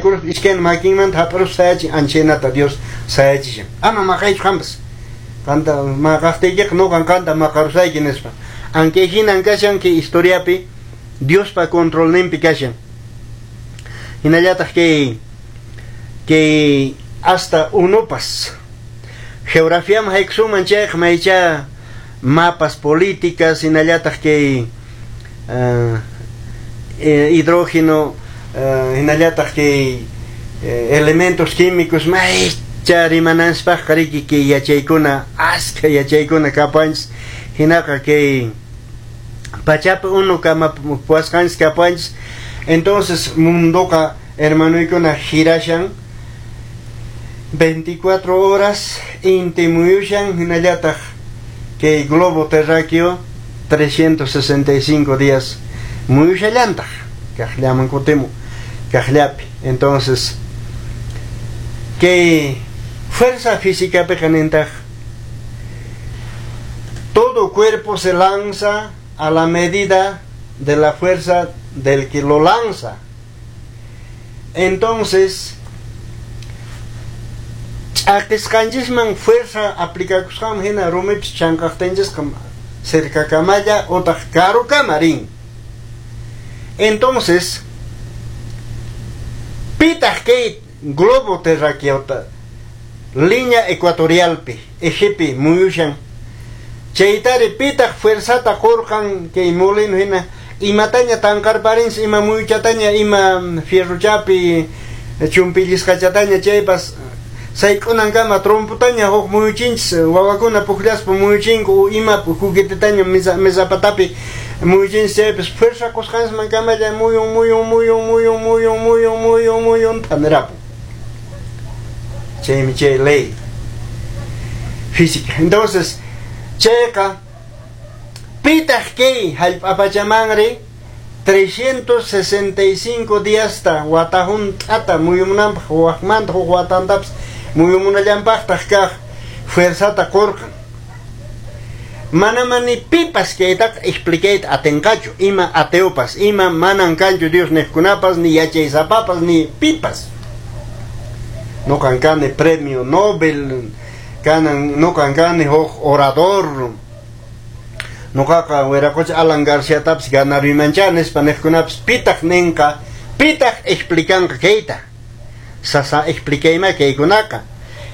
Haykuruspa iskaynin makinmanta hap'iruspa sayachin, anchaynata Dios sayachishan. Ama maqaychu qanpas. Qanta maqaqtiykiqa nuqan qanta maqarusayki nispa. Ankay hinan kashan kay historiapi Diospa controlninpi kashan. Hinallataq kay hasta unupas. Geografiaman haykusunman chayqa maycha mapas políticas, hinallataq kay hidrógeno, hinallataq kay elementos químicos maycha rimananspaqqa riki kay yachaykuna, askha yachaykuna kapuanchis. Hinaqa kay pachapi unu kamapuwasqanchis kapuanchis. Entonces mundoqa hermanoykuna girashan 24 horas inti muyushan, hinallataq kay globo terráqueo 365 días muyushallantaq kaqllaman kutimu kaqllapi. Entonces kay fuerza física nintaq todo cuerpo se lanza a la medida de la fuerza del que lo lanza. Entonces ch'aqisqanchisman fuerza aplicakusqanman hina rumipis chanqaqtinchisqa cercakamalla utaq karukama rin. Entonces pitaq kay globo terráqueota línea ecuatorialpi ejepi muyushan chaytari pitaq fuerzata qurqan kay molino hina imataña tanqarparinchis ima muyuchataña ima fierrochapi chumpillisqachataña chaypas sayk'unankama tromputaña huk muyuchinchis wawakuna pukllaspa muyuchinku ima juguetetaña mesapatapi muyuchinchis chaypas fuerza qusqanchisman kamalla muyun muyun muyun muyun muyun muyun muyun muyun thanirapun. Chaymi chay ley física. Entonces chayqa pitaq kay hallp'apachamanri 365 díasta wata hunt'ata muyumunanpaq waqmanta huk watantapas muyumunallanpaqtaq kaq fuerzata qurqan. Mana ni pipas kaytaqa explicayta atinqachu, ima ateopas, ima manan kanchu Dios niqkunapas, ni yachaysapapas, ni pipas. Nuqan kani premio Nobel, kanan nuqan kani huk orador. Nuqaqa wiraqocha Alan Garciatapas ganaruymancha nispa niqkunapas pitaq ninqa, pitaq explicanqa kayta. Sasa explicayma kaykunaqa.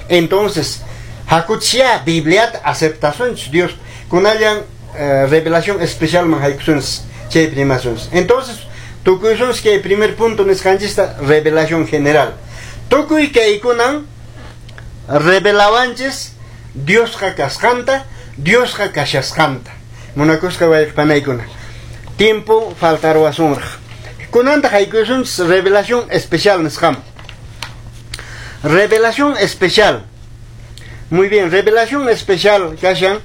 Entonces, hakuchya Bibliata aceptasunchis Dios kunallan revelación especial man haykusunchis chay primasunchis. Entonces, tukuysunchis kay primer punto nisqanchista revelación general. Tukuy kaykunan revelawanchis Diosqa kasqanta, Diosqa kashasqanta. Munakusqa wayqpanaykuna. Tiempo faltaruwasunraq. Kunantaq haykusunchis revelación especial nisqaman. Revelación especial. Muy bien, revelación especial, kashan.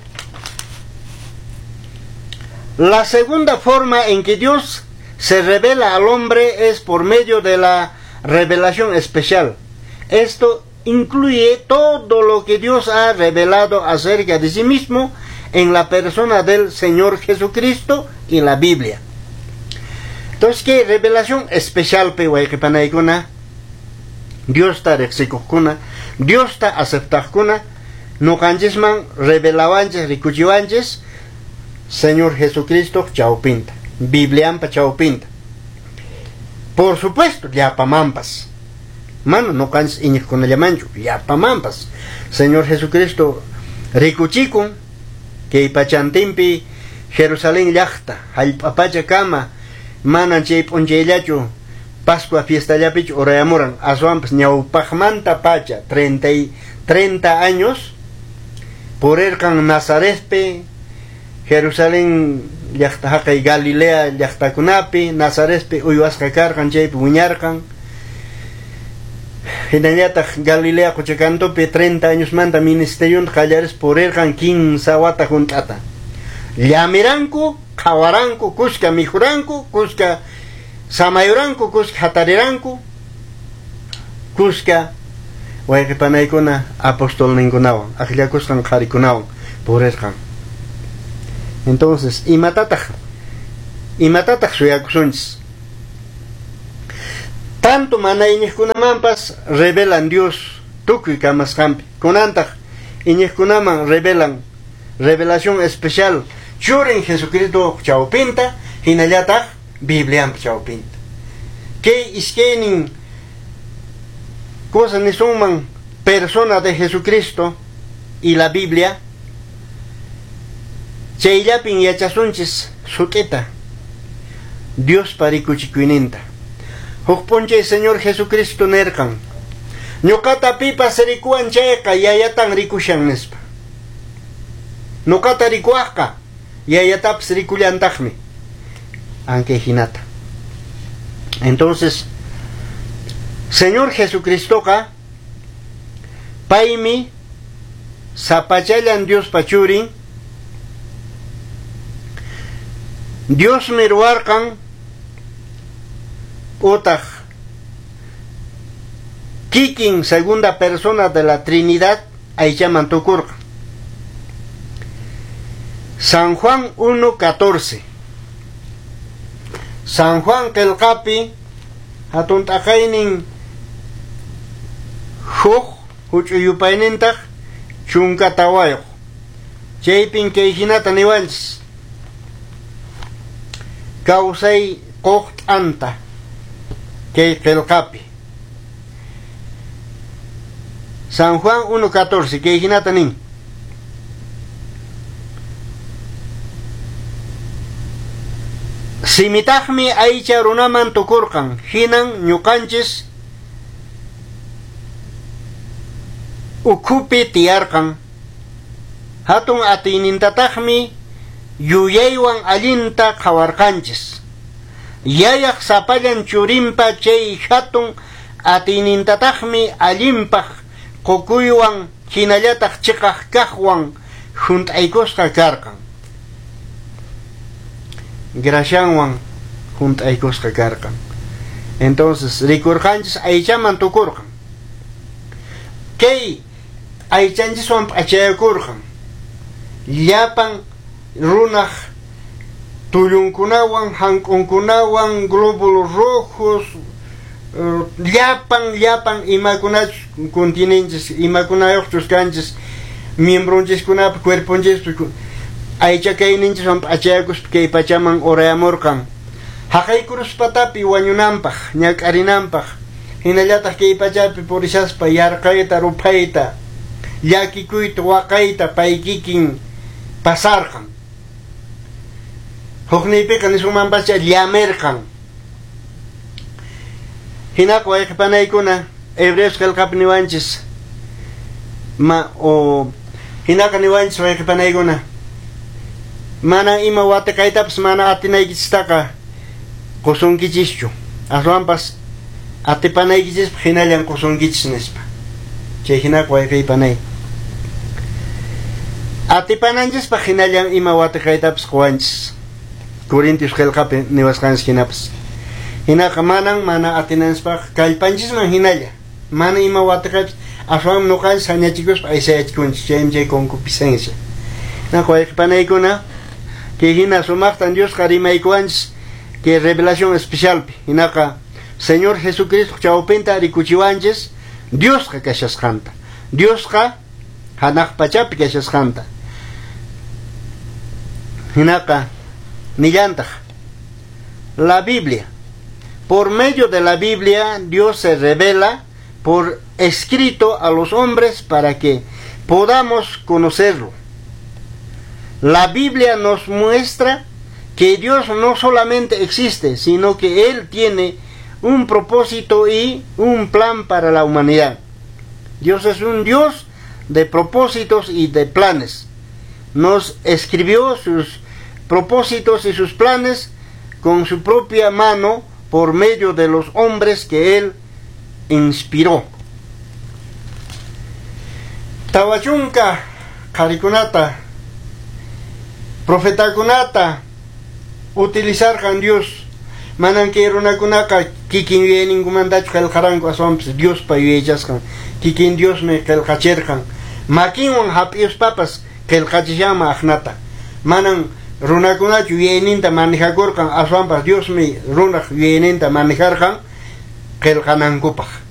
La segunda forma en que Dios se revela al hombre es por medio de la revelación especial. Esto incluye todo lo que Dios ha revelado acerca de sí mismo en la persona del Señor Jesucristo y la Biblia. Entonces, ¿qué revelación especial pe wayqipanaykuna? Diosta riqsikuqkuna, Diosta aceptaqkuna, nuqanchisman revelawanchis, rikuchiwanchis Señor Jesucristo chawpinta, Bibliampa chawpinta. Por supuesto, llapamampas. Mana nuqanchis iñiqkunallamanchu, llapamampas. Señor Jesucristo rikuchikun kay pachantinpi Jerusalén llaqta, hallp'apacha kama, manan chay p'unchayllachu Pascua fiestallapichu urayamuran, aswanpas ñawpaqmanta pacha 30 años purirqan Nazaretpi, Jerusalén llaqta haqay Galilea llaqtakunapi, Nazaretpi uywasqa karqan, chaypi wiñarqan. Hinallataq Galilea quchakantupi 30 añosmanta ministerionta qallarispa purirqan 15 wata hunt'ata. Llamiranku, qhawaranku, kuska mikhuranku, kuska samayuranku, kuska hatariranku, kuska wayqipanaykuna apostolninkunawan, akllakusqan qharikunawan purirqan. Entonces, imatataq suyakusunchis? Tanto mana iñiqkunamanpas revelan Dios tukuy kamasqanpi. Kunantaq iñiqkunaman revelan revelación especial churin Jesucristo chawpinta, hinallataq Bibliampa chawpinta. Kay iskaynin cosa nisunman persona de Jesucristo y la Biblia, chayllapin yachasunchis sut'ita Diospa rikuchikuyninta. Huk p'unchay Señor Jesucristo nirqan, ñuqata pipas rikuwan chayqa yayatan rikushan nispa. Ñuqata rikuwaqqa yayatapas rikullantaqmi. Aunque hinata. Entonces, Señor Jesucristoqa paymi sapachallan Diospa churin, Diosmi ruwarqan utaq kikin segunda persona de la Trinidad aychaman tukurqan. San Juan 1:14. San Juan qillqapi hatun t'aqaynin huk huch'uy yupaynintaq 14. Chaypin kay hinata niwanchis. Kawsay quq t'anta kay qillqapi. San Juan 1:14 kay hinata nin. Simitaqmi aycha runaman tukurqan, hinan ñuqanchis ukhupi tiyarqan. Hatun atiynintataqmi yuyaywan allinta qhawarqanchis. Yayaq sapallan churinpa chay hatun atiynintataqmi allinpaq qukuywan hinallataq chiqaq kaqwan hunt'aykusqa karqan. Grashanwan hunt'aykusqa karqan. Entonces rikurqanchis aychaman tukurqan. Kay aychanchiswan p'achayakurqan. Llapan runaq tullunkunawan, hank'unkunawan, glóbulos rojos, llapan imakunachus continenchis, imakunayuqchus kanchis, miembronchiskunapi, cuerponchispi, aycha kayninchiswan p'achayakuspa kay pachaman urayamurqan. Haqay kruspatapi wañunanpaq, ñak'arinanpaq, hinallataq kay pachapi purishaspa yarqayta, ruphayta, llakikuyta, waqayta pay kikin pasarqan. Hukniypiqa nisunmanpacha llamirqan. Hinaqa wayqipanaykuna Hebreos qillqapi niwanchis ma o hinaqa niwanchis wayqipanaykuna mana ima watiqaytapas mana atinaykichistaqa qusunkichischu, aswanpas atipanaykichispaq hinallan qusunkichis nispa. Chay hinaqa wayqiypanay atipananchispaq hinallan ima watiqaytapas quwanchis. Corintios qillqapi niwasqanchis hinapas. Hinaqa manan mana atinanchispaq kallpanchisman hinalla mana ima watiqaypas aswan ñuqanchis sañachikuspa aysayachikunchis, chaymi chay concupiscencia. Hinaqa wayqipanaykuna kay hina sumaqtan Diosqa rimaykuwanchis kay revelación especialpi. Hinaqa Señor Jesucristo chawpinta rikuchiwanchis Diosqa kashasqanta, Diosqa hanaq pachapi kashasqanta. Hinaqa nillantaq la Biblia. Por medio de la Biblia Dios se revela por escrito a los hombres para que podamos conocerlo. La Biblia nos muestra que Dios no solamente existe, sino que Él tiene un propósito y un plan para la humanidad. Dios es un Dios de propósitos y de planes. Nos escribió sus propósitos y sus planes con su propia mano por medio de los hombres que Él inspiró. Tawachunka qharikunata, profetakunata utilizarqan Dios. Manan kay runakunaqa kikin yuyayninkumantachu qillqaranku, aswanpas Diospa yuyaychasqan. Kikin Diosmi qillqachirqan. Makinwan hap'iyuspapas qillqachishanman aqnata. Manan runakunachu yuyayninta manejakurqan, aswanpas Diosmi runaq yuyayninta manejarqan qillqanankupaq.